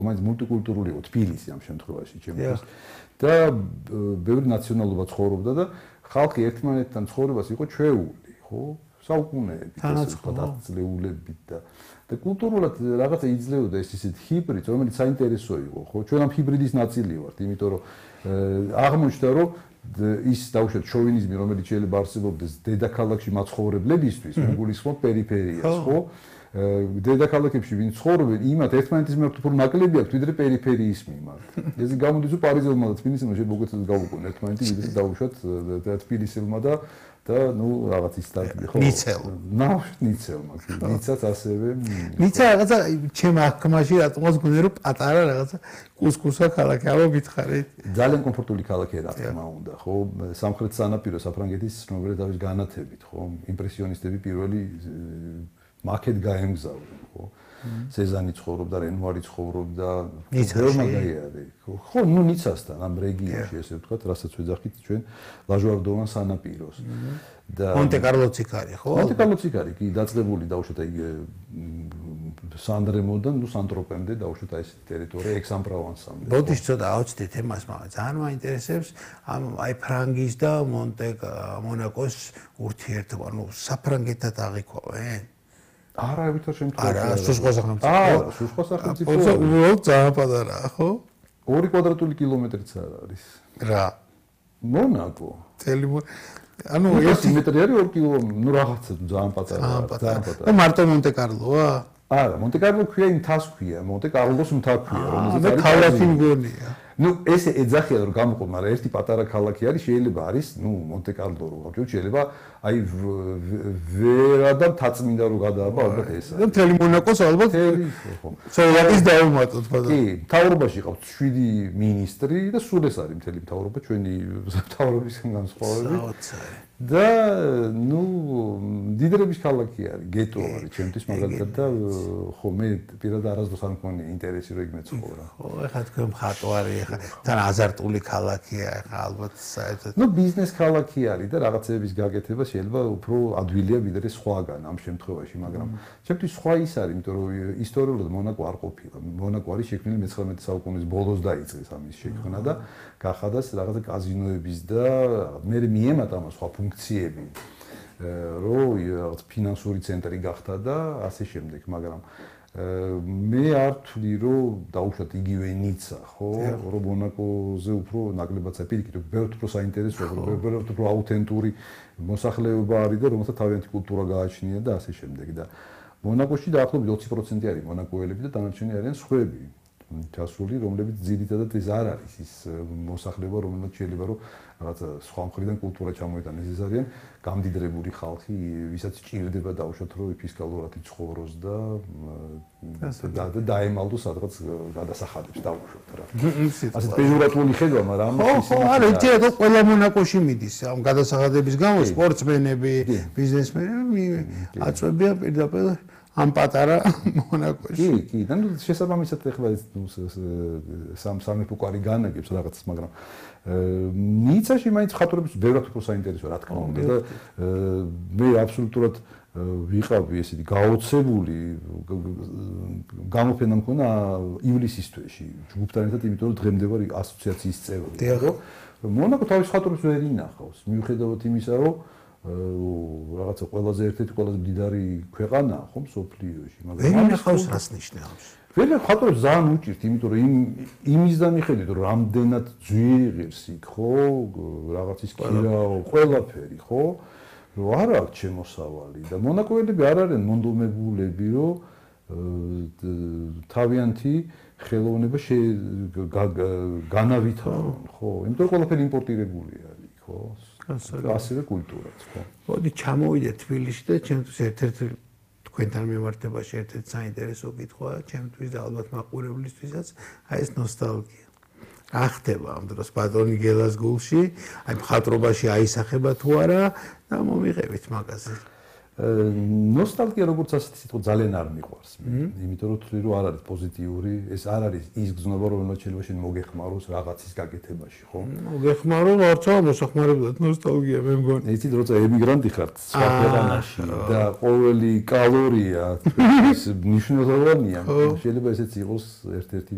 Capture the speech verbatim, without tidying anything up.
მაინც მულტიკულტურული იყო თბილისი ამ შემთხვევაში ჩემთვის და ბევრი ნაციონალობა ცხოვრობდა და ხალხი ერთმანეთთან ცხოვრებას იყო ჩვეული, ხო? საუკუნეებით, დაწლეულებით და და კულტურულად რაღაცა იძლეოდა ეს ისეთ ჰიბრიდს, რომელიც საინტერესო იყო, ხო? ჩვენ ამ ჰიბრიდის ნაწილი ვართ, იმიტომ რომ აღმოჩნდა რომ ის დაუშვათ შოვინიზმი, რომელიც შეიძლება არსებობდეს დედაქალაქში მაცხოვრებლებისთვის, მეგულისხმობ პერიფერიას, ხო? დედაქალაქებში ვინ ცხოვრობენ, იმათ ერთმანეთის მიმართ უფრო ნაკლები აქვს, ვიდრე პერიფერიის მიმართ. ესე გამოდის, რომ პარიზელმა და თბილისელმა შეიძლება უკეთესად გავუყონ ერთმანეთი, ვიდრე დაუშვათ თბილისელმა და და ნუ რაღაც ის სტარტი ხო? ნიცელ. ნახეთ ნიცელმა, ნიცაც ასევე. ნიცა რაღაცა ჩემ აღქმაში რატომაც გონია რომ პატარა რაღაცა კუსკუსა ქალაქი, აბა გითხარით. ძალიან კომფორტული ქალაქია რა თქმა უნდა, ხო? სამხრეთ სანაპირო საფრანგეთის ცნობილი თავის განათებით, ხო? იმპრესიონისტები პირველი მაკეთ გაემგზავრნენ, ხო? სეზანი ცხოვრობდა, რენუარი ცხოვრობდა, ბევრმა გაიარე. ხო, ნუ ნიცასთან ამ რეგიონში ესე ვთქვათ, რასაც ვეძახით ჩვენ ლაჟვარდოვან სანაპიროს. და მონტე-კარლოც იქ არის, ხო? მონტე-კარლოც იქ არის, კი, დაწყებული დაუშვათ აი სანდრემოდან, ნუ სანტროპემდე დაუშვათ აი ესეთი ტერიტორია ექს-ამ-პროვანსამდე. ბოდიშ ცოტა ავწდეთ ემას, მაგრამ ძალიან მაინტერესებს ამ აი ფრანგის და მონტე-მონაკოს ურთიერთობა, ნუ საფრანგეთთან აღიქვავენ? არა, ვითარ შემთხვევაში. არა, სუსხო სახელმწიფო. აა, სუსხო სახელმწიფო. ხო, უბრალოდ ძალიან პატარაა, ხო? ორი კვადრატული კილომეტრიც არ არის. რა? მონაკო. წელი ანუ ერთი მეტრი არის ორი კილომეტრი, ნუ რაღაცა ძალიან პატარაა, ძალიან პატარა. და მარტო მონტე-კარლოა? არა, მონტე-კარლო ქვია იმ თას ქვია, მონტე-კარლოს მთა ქვია, რომელზეც არის ქალაქი მგონია. ნუ ესე ეძახია რომ გამოყო, მაგრამ ერთი პატარა ქალაქი არის, შეიძლება არის, ნუ მონტე-კარლო რო გავჩვენოთ, შეიძლება აი ვერა და თაწმინდა რო გადააბა, ალბათ ესაა. და მთელი მონაკოს ალბათ ხო. სოლაკის დაუმატოთ, ბატონო. კი, მთავრობაში ყავს შვიდი მინისტრი და სულ ეს არის მთელი მთავრობა, ჩვენი მთავრობისგან განსხვავებით. და ნუ დიდრების ქალაქი არის, გეტო არის ჩემთვის მაგალითად და ხო მე პირადად არასდროს არ მქონია ინტერესი რომ იქ მეცხოვრა. ხო, ეხლა თქვენ მხატვარი, ეხლა თან აზარტული ქალაქია, ეხლა ალბათ საერთოდ. ნუ ბიზნეს ქალაქი არის და რაღაცების გაკეთება შეიძლება უფრო ადვილია ვიდრე სხვაგან ამ შემთხვევაში, მაგრამ ჩემთვის სხვა ის არის, იმიტომ რომ ისტორიულად მონაკო არ ყოფილა. მონაკო არის შექმნილი მეცხრამეტე საუკუნის ბოლოს დაიწყეს ამის შექმნა და გახადას რაღაცა კაზინოების და მე მიემატა ამ სხვა ფუნქციები, რომ რაღაც ფინანსური ცენტრი გახდა და ასე შემდეგ, მაგრამ მე არ ვთვლი, რომ დაუშვათ იგივე ნიცა, ხო, რომ მონაკოზე უფრო ნაკლებად საფირიქით, ბევრად უფრო საინტერესოა, ბევრად უფრო აუთენტური მოსახლეობა არის და რომელსაც თავიანთი კულტურა გააჩნია და ასე შემდეგ და მონაკოში დაახლოებით ოცი პროცენტი არის მონაკოელები და დანარჩენი არიან სხვები. ჩასული, რომლებიც ძირითადად ეს არ არის ის მოსახლეობა, რომელსაც შეიძლება რომ რაღაცა სხვა მხრიდან კულტურა ჩამოიტანეს. ეს არიან გამდიდრებული ხალხი, ვისაც ჭირდება დაუშვათ რომ ფისკალურად იცხოვროს და და დაემალდოს სადღაც გადასახადებს დაუშვათ რა. ასეთ პეჟორატიული ხედვა, მაგრამ ხო, ხო, არა, იცით რომ ყველა მონაკოში მიდის ამ გადასახადების გამო სპორტსმენები, ბიზნესმენები აწვევიან პირდაპირ ამ პატარა მონაკოში. კი, კი, და ნუ შესაბამისად ეხლა სამ სამეფო კვარი განაგებს რაღაცას, მაგრამ ნიცაში მაინც ხატრობის ბევრად უფრო საინტერესოა, რა თქმა უნდა და მე აბსოლუტურად ვიყავი ესეთი გაოცებული გამოფენა მქონა ივლისის თვეში ჯგუფთან ერთად, იმიტომ რომ დღემდე ვარ ასოციაციის წევრი. რომ მონაკო თავის ხატრობს ვერ ინახავს, მიუხედავად იმისა, რომ რაღაცა ყველაზე ერთ-ერთი ყველაზე მდიდარი ქვეყანაა ხო მსოფლიოში, მაგრამ ვერ ინახავს რას ნიშნავს? ვერ ხატრობს ძალიან უჭირთ, იმიტომ რომ იმ იმისგან მიხედვით, რომ რამდენად ძვირი ღირს იქ, ხო, რაღაცის ქირაო, ყველაფერი, ხო, რომ არ აქვს შემოსავალი და მონაკოელები არ არიან მონდომებულები, რომ თავიანთი ხელოვნება განავითარონ, ხო, იმიტომ რომ ყველაფერი იმპორტირებული არის, ხო. ასევე კულტურაც, ხო. მოდი ჩამოვიდეთ თბილისში და ჩემთვის ერთ-ერთი თქვენთან მიმართებაში ერთ-ერთი საინტერესო კითხვაა, ჩემთვის და ალბათ მაყურებლისთვისაც, აი ეს ნოსტალგია. რა ხდება ამ დროს ბატონი გელას გულში, აი მხატვრობაში აისახება თუ არა და მომიღებით მაგაზე. ნოსტალგია როგორც ასეთი სიტყვა ძალიან არ მიყვარს მე, იმიტომ რომ თვლი რომ არ არის პოზიტიური, ეს არ არის ის გზნობა, რომელსაც შეიძლება შენ მოგეხმაროს რაღაცის გაკეთებაში, ხო? მოგეხმარო, არცა მოსახმარებლად ნოსტალგია მე მგონი. იცით, როცა ემიგრანტი ხარ სხვა ქვეყანაში და ყოველი კალორია ის მნიშვნელოვანია, შეიძლება ესეც იყოს ერთ-ერთი